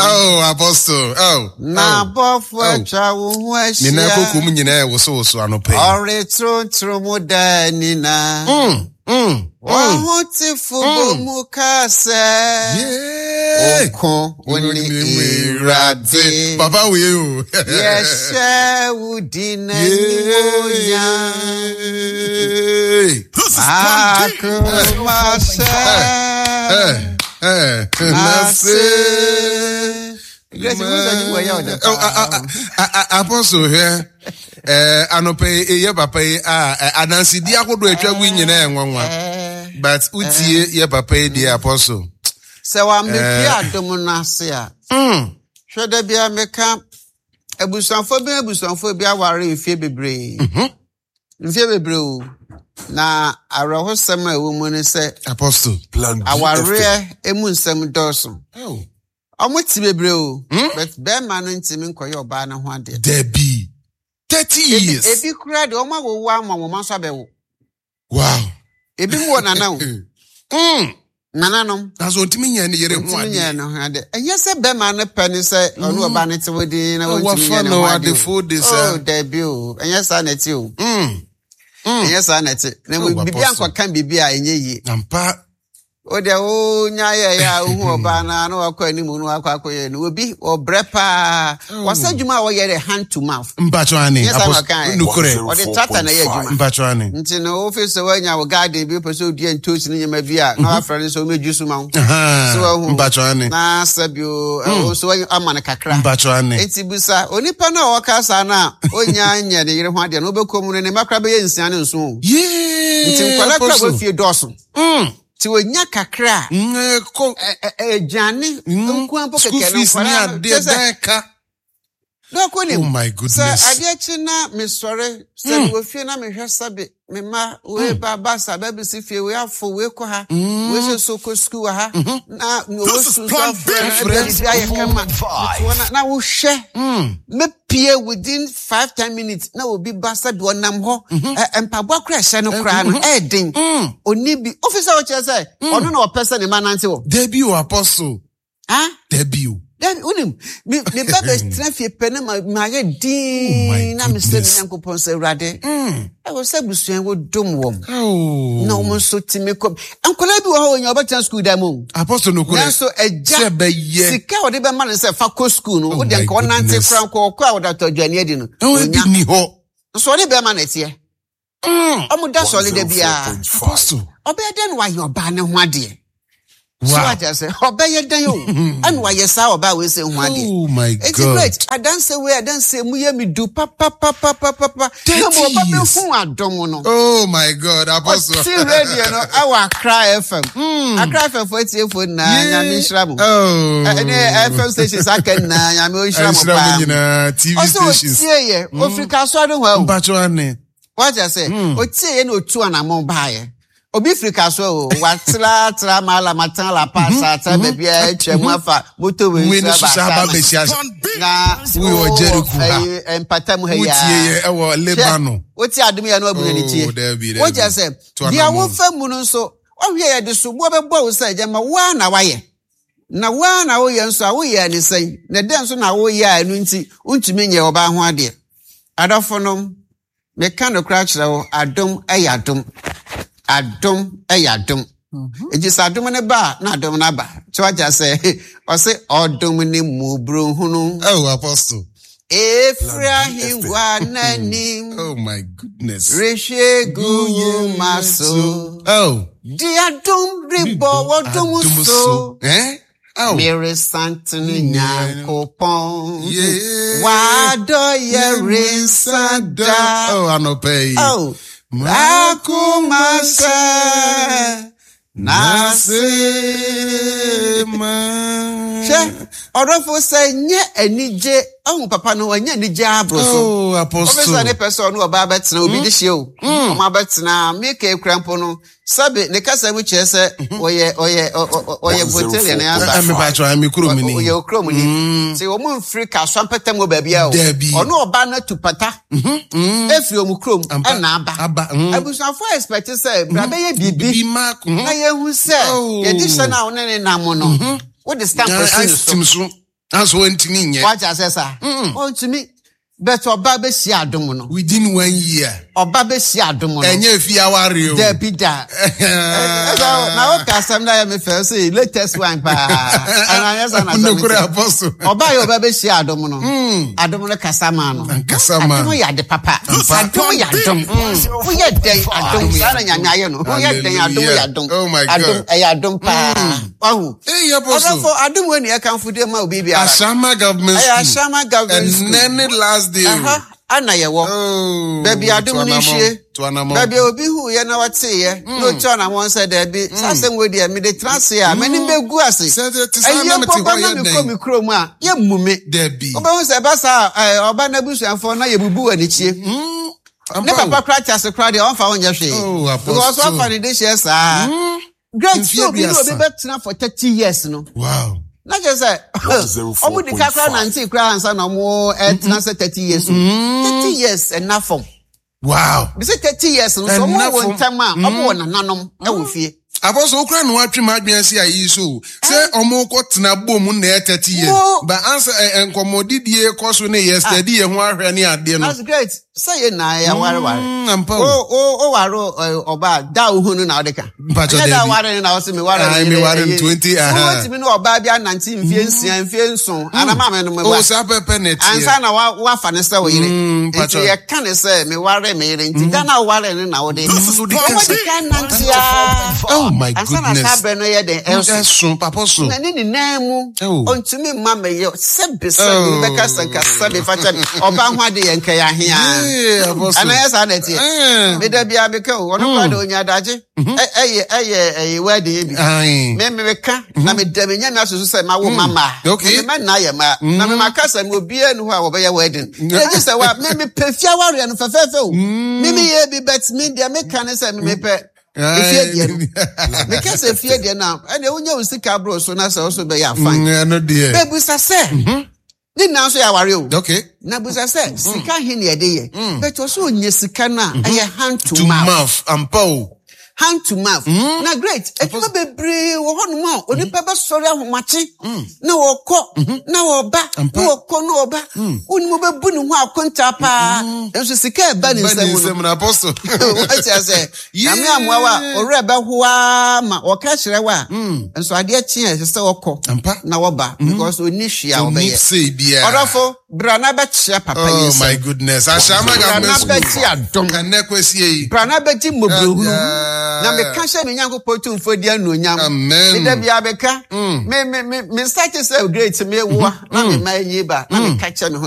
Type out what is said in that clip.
Oh, Apostle. Oh. Na oh, abɔfo oh. atwa wo ho Ne nan ahyia. kokom nyinaa wosowoso anɔpa yi. Ɔretorotoro mu daa nyinaa. W'ahotefo bɔ mu ka sɛ. Yeah. Ɔko wo ne Awurade. Papa wei o. Yɛhyɛ wo din animuonyam. Yeah. This is Plan B. Akoma hyɛ. Eh, eh, Nase. nase. Grace, wo sɛ dwuma yɛ ɔdɛ Oh, Apostle hwɛ eh, anɔpa yi yɛ papa yi a adansedi ahodoɔ atwa gu nyinaa yɛ nwanwa but wotie yɛ papa yi deɛ Apostle. Sɛ wamepie adom no ase a, hwɛ da bia meka abusuafoɔ bi abusuafoɔ bi aware mfie bebree. Mfie bebree o. Na awerɛhosɛm a ɛwɔ mu ne sɛ Apostle. Plan B FM. awareɛ mu nsɛm dɔɔso. Oh. Ɔmo te bebree o. But bɛrima no ntumi nkɔyɛ ɔbaa no ho adeɛ. Dabi. 30 years. Ebi kura deɛ ɔmo awowo ama wɔn nso abɛwo. Wow. Ebi mu wɔ nana o. Nananom. Na so ntumi nyɛ ne yere ho Ntumi nyɛ adeɛ. ne ho adeɛ. Ɛnyɛ sɛ bɛrima no pɛ ne sɛ ɔne ɔbaa no te hɔ din na Oh, wɔntumi wafa nyɛ ne no ho adeɛ. adefo de saa. Oh, dabi o. Ɛnyɛ saa na ɛte o. Ɛnyɛ saa na ɛte. Na Oh, biribi Apostle. ankɔka biribi a ɛnyɛ yie. Ampa. O deɛ wonya yɛyɛ a wohu ɔbaa no a na wakɔ anim na wakɔ akɔyɛ no. Obi ɔbrɛ paa. Wɔsɛ adwuma a wɔyɛ de hand to mouth. Mpatwa ane. Nyɛ saa na Apostle. ɔka ɛ. Nukurɛ. Ɔde tractor na ɛyɛ adwuma. Mpatwa ane. Nti no wofi sɛ woanya wo garden bi wopɛ sɛ odua ntoosi ne nneɛma bi a na wafrɛ no sɛ ɔmɛdwu so ma wo. So wahu. Mpatwa ane. Na sɛ bio ɛwo nso woanya- ama no kakra. Mpatwa ane. Nti busa onipa no a ɔka saa no a ɔnya nyɛ ne yere ho adeɛ no wobɛkɔ mu no ne mma koraa bɛyɛ 6 ne 7 o. Yee. Nti nkwadaa koraa Apostle. wɔ fie dɔɔso. Nti wɔnya kakra a Kɔ. aduane nko mpo School kɛkɛ no fees ne nkwadaa no adeɛ kyerɛ sɛ dan ka. dɔkɔ nim Oh my sɛ goodness. adeɛ kye na mesɔre sɛ mewɔ fie na mehwɛ sɛbe me mma wei ba basa bɛbɛsi fie wei afo wei kɔ ha wei nso so kɔ sukuu wɔ ha na ɔwɔ This is sukuu nso Plan afrɛ B. no ɛbɛ biribi ayɛ kama Five. Metoɔ na wohwɛ mepie within 5, 10 minutes na obi ba sɛbe ɔnam hɔ mpaboa kora ɛhyɛ no koraa no ɛɛden oni bi ofi sɛ ɔkyerɛ sɛ ɔno na ɔpɛ sɛ ne ma nante wɔ Dabi o Apostle. ah Dabi o. Then wonim me ba bɛtena fie pɛ na mayɛ Oh my din na mesrɛ me goodness. Nyankopɔn sɛ Awurade ɛwɔ sɛ abusua wodom wɔm Oh. na wɔn nso tumi kɔ nkwadaa bi wɔ hɔ wɔnya wɔbɛtena sukuu dan mu o. Apostle nukurɛ. Nanso agya Sɛ bɛyɛ. sika a wɔde bɛma no sɛ fa kɔ sukuu no Oh wode my nka ɔnante goodness. kora nkɔ ɔkɔ a wɔde atɔ aduane adi no Ɛwɔ ebi ɔnya ni hɔ. nso ɔne bɛrima na ɛteɛ ɔmo da sɔle da biara 104.5. Apostle. Ɔbɛyɛ dɛn na wayɛ ɔbaa ne ho adeɛ so Wow. wagya sɛ ɔbɛyɛ dɛn o ɛna wayɛ saa ɔbaa wei sɛ ho adeɛ. Oh my Eti God. great adanse wei adanse mu yɛ mi du papapapapapa na 30 mo ɔba years. bɛ hu adom no. Oh my God, Apostle. Ɔte radio no ɛwɔ Accra FM. Accra FM fo etiefo nyinaa Nyame nhyira mo. Oh. Ɛne FM stations aka nyinaa Nyame nhyira mo Nhyira mo paa. nyinaa TV Ɔsɛ stations. otie yɛ ofiri Kasoa no hɔ o. Mpatwa ane. Wagya sɛ otie yɛ na otu anamɔ baayɛ. Obi firi Kasoa o watra tra maala matan la paasa atra baabi a atwa mu afa motorway Wei ne so so saa aba aba bɛhyia. Plan B. na Wowɔ Jericho ha. ɛyi, mpata mu ha yi Wotie yɛ ɛwɔ Lebanon. Wote adom yɛ no abu n'ani tie Oh, dabi, dabi. wogya sɛ To deɛ anammɔn. wofa mu no nso ɔhwɛ yɛde soboɔ bɛbɔ wo sɛ gyama woa na wayɛ na woa na woyɛ nso a woyɛ ne sɛn na dɛn nso na woyɛ a ɛno nti wontumi nyɛ ɔbaa ho adeɛ. Adɔfo nom meka nokora kyerɛ wo, adom ɛyɛ adom, adom ɛyɛ adom. Enti sɛ adom no ba a na adom no aba kyɛ wagya sɛ ɔse ɔdom ne mu burohunu Oh, Apostle. efiri ahengua n'anim Oh my goodness. rehwɛ gu wo ma so Oh. di adom rebɔ wɔdom so Eh? Oh. meresantene Nyankopɔn Yeah. wadɔ yɛ rensa da. Oh, anɔpa yi. Oh, akoma sɛ nase. Ma. Hwɛ ɔdɔfo sɛ nyɛ anigye ɔhu papa no ɔnyɛ anigye aboro so. Oh, Apostle. Ɔbɛsa ne pɛ sɛ ɔne ɔbaa bɛtena obi de hyia o ɔmo abɛtena meka ekura mpo no sɛbe ne kasa mu kyerɛ sɛ ɔyɛ ɔyɛ ɔyɛ Voltaian ne asa. Mepa kyɛw, me kurom ni. Ɔyɛ okurom ni nti wɔn mfiri Kasoa mpɛtɛm wɔ baabi a o Dabi. ɔne ɔbaa no atu pata efiri wɔn kurom Ampa. ɛna aba. Aba. Abusuafo expect sɛ bra bɛyɛ biribi Bi ma. na yɛhu sɛ Oh. yɛde hyɛ no a wo ne ne nam no wode stamp si ne so. Tim so. Nanso wɔntumi nyɛ. Wate aseɛ saa? Ɔntumi. But ɔba bɛhyia adom no. Within one year. Ɔba bɛhyia adom no. Ɛnyɛ fi aware o. Dabi da. Na woka asɛm no ayɛ me fɛ sɛ latest one paa. Ɛna anyɛ saa na asɛm Nokorɛ apostle. Ɔba yɛ ɔba bɛhyia adom no. Adom no kasa maa no. Kasa maa. Adom yɛ ade papa. Adom yɛ adom. Woyɛ dɛn adom saa na Nyame ayɛ no. Woyɛ dɛn adom yɛ adom. Oh my God. Adom ɛyɛ adom paa. Wahu. Hey, Apostle. Ɔdɔfo adom wei na yɛkamfo de ma obi biara. Ashama Government Ɛyɛ School. Ashama Government School. Ɛnɛ ne last day. Ɛha ana yɛwɔ. Oh, Baabi adom no hwie. To anamɔ. Baabi a obi hu yɛ na wɔteeɛ na otu anamɔ sɛ daabi saa asɛm wei deɛ mede tena ase a m'anim bɛgu ase. Sɛ te saa Ɛyɛ na mete mpo hɔ ba na yɛ mekɔ dɛn? me kurom a yɛmmu me. Dabi. Wobɛhu sɛ ɛba saa a ɔba n'abusuafoɔ na yɛbubu wɔ anikyie. Ne papa koraa te ase koraa deɛ ɔmfa wo nyɛ hwee. Oh, Apostle. Because wafa ne de hyɛ saa. Great Mfeɛ sɛ obi ne obi aduasa. bɛtena for 30 years no. Wow. Na kyerɛ sɛ ɔmo di ka koraa nante koraa ansa na ɔmo ɛtena sɛ 30 years o. 30 years ɛna fam. Wow. Bisi 30 years no so ɔmo Ɛnna wɔ fam. ntam a ɔmo wɔ nananom ɛwɔ fie. Apostle okura na watwe mu adwene asi ayi so o. Sɛ ɔmo kɔ tena bom na ɛyɛ 30 years. Wo- But ansa nkɔmmɔdidie kɔ so ne yɛ steady yɛ ho ahwɛ ne adeɛ no. That's great. Sɛ yɛ na yɛ awareware. Ampa O o. o o ware ɔbaa da a wohu no na ɔde ka. Mpakyɛ Ɛnyɛ da dabi. ware no na ɔse me ware no. Aye, me ware no 20, aha. Wotumi ne ɔbaa bi anante mfie 6 mfie 7 ana maame no O meboa. saa pɛpɛ na ɛteɛ. Ansa na wafa ne sɛ wo yere. Mpakyɛ. Nti yɛka ne sɛ me ware me yere nti da na woware no na wode. Wode ka Ɔmo sɛ- di kan nante a. Oh my Ansa na goodness. saa berɛ no yɛ den ɛnso. Ɛso papa so. Na ne nyinaa mu Oh. ɔntumi mma mɛyɛ sɛbe sɛbe Oh. bɛka sɛ nka sɛbe fa kyɛ me ɔba ho ade yɛ nkɛyɛ ahea. Yeah, Apostle. Ana yɛ saa na ɛteɛ. Eh. Meda bia meka o ɔno koraa de onya adagye ɛyɛ ɛyɛ ɛyɛ wedding bi. Aye. Me meka na meda me nyame asoso sɛ mawo mama. Okay. Me ma na yɛ ma na me maka sɛ me obiara ni hɔ a wɔbɛyɛ wedding. Ɛgye sɛ wa me mepɛ fie awareɛ no fɛfɛɛfɛ o. Me meyɛ bi but me deɛ meka ne sɛ me mepɛ efie deɛ no. Meka sɛ efie deɛ no a ɛnna wonya wo sika aboro so na sɛ wo so bɛyɛ afan. Ɛno deɛ. Bɛbusa sɛ ne nyinaa nso yɛ aware o. Okay. Na busa sɛ sika he ne yɛde yɛ. But ɔsɛ onya sika no a ɛyɛ hand to To mouth. mouth. Ampa o. Hand to mouth. Na great adwuma bebree wɔ hɔnom a onipa bɛsɔre ahomakye na wɔkɔ na wɔba na wɔkɔ na wɔba. Wonim wobɛbu ne ho akonta paa. Nso sika ɛba ne Ba ne nsam no. nsam no Apostle. Wate ase. Yeah. Nyame amoa wo a ɔwerɛ bɛhoa ma wɔka kyerɛ wo a nso adeɛ kye a ɛsɛ sɛ wɔkɔ Ampa. na wɔba because ɔnni hwee a Onni wɔbɛyɛ. sei biara. Ɔdɔfo bra na bɛkyea papa yi Oh nsam. my goodness. Ashama Bra na Government School. bɛgye adom. Ɛnɛ kwasie yi. Bra na bɛgye mmɔborɔhunu. Ah. Na meka hyɛ me Nyankopɔn tumfoɔ di anuonyam. Amen. Meda bia bɛka. Me nsa kye sɛ great me woa na me ma anyi ba na meka kyerɛ me ho